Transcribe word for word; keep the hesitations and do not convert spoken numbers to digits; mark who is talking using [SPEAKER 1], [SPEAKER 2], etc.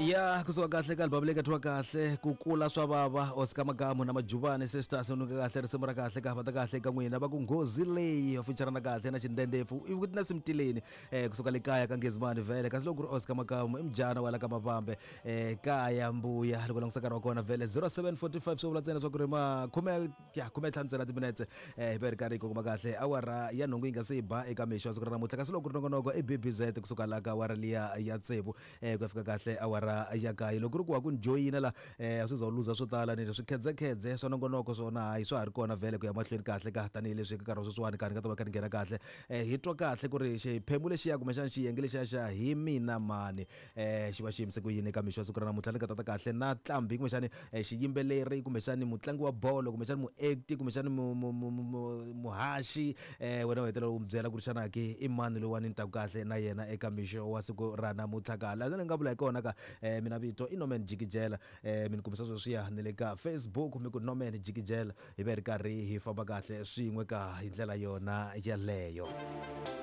[SPEAKER 1] Ya kusuka kahle ka album leyi nga thyiwa kahle ku kula swa vava, Oscar Makamu na Majubani Sisters. Nuka kahle risimu ra kahle ka vata kahle ka n'wina va ku nghozi leyi featurana kahle na Xindendefu i na Simtileni eh kusuka le kaya ka Ngezimani vhele. Kasi loko ku ri Oscar Makamu i mujana wa la ka Mavambe eh kaya mbuya. Loko langutisa nkarhi wa kona vhele zero seven forty five, swi vula ntsena swa ku ri ma khume ya khume ntlhanu ntsena timinetse eh hi va hi ri karhi hi kuma kahle awara ya nhungu yi nga se yi ba eka mixo wa siku ra namuntlha. Kasi loko ku ri nongonoko i B B Z kusuka la ka awara liya ya tsevu eh ku ya fika kahle awara ya kaye. Loko ku ri ku wa ku ni joyina la eh a swi za u luza swo tala ni swi khedzekhedze swa nongonoko swona, hayi, swa ha ri kona vhele ku ya mahlweni kahle ka tanihileswi eka nkarhi wa sweswiwani karhi nga ta va kha ni nghena kahle eh hi twa kahle ku ri xiphemu lexiya kumbexana xiyenge lexiya xa hi mina mani eh xi va xi yimise ku yini eka mixo wa siku ra namuntlha. Ni nga tata kahle na tlambi kumbexani eh, xiyimbeleri kumbexani mutlangi wa bolo kumbexani muacti kumbexani mu- mu- mu- mu- muhaxi eh wena u hetelela u mi byela ku ri xana ke i mani lowani ni taku kahle na yena eka mixo wa siku ra namuntlha ka laha ni nga vula hi kona ka eh, mina vito i Norman Jikijela. eh mi ni kumisa sweswiya ni le ka Facebook, mi ku Norman Jikijela, hi va hi ri karhi hi famba kahle swin'we ka hi ndlela yona yeleyo.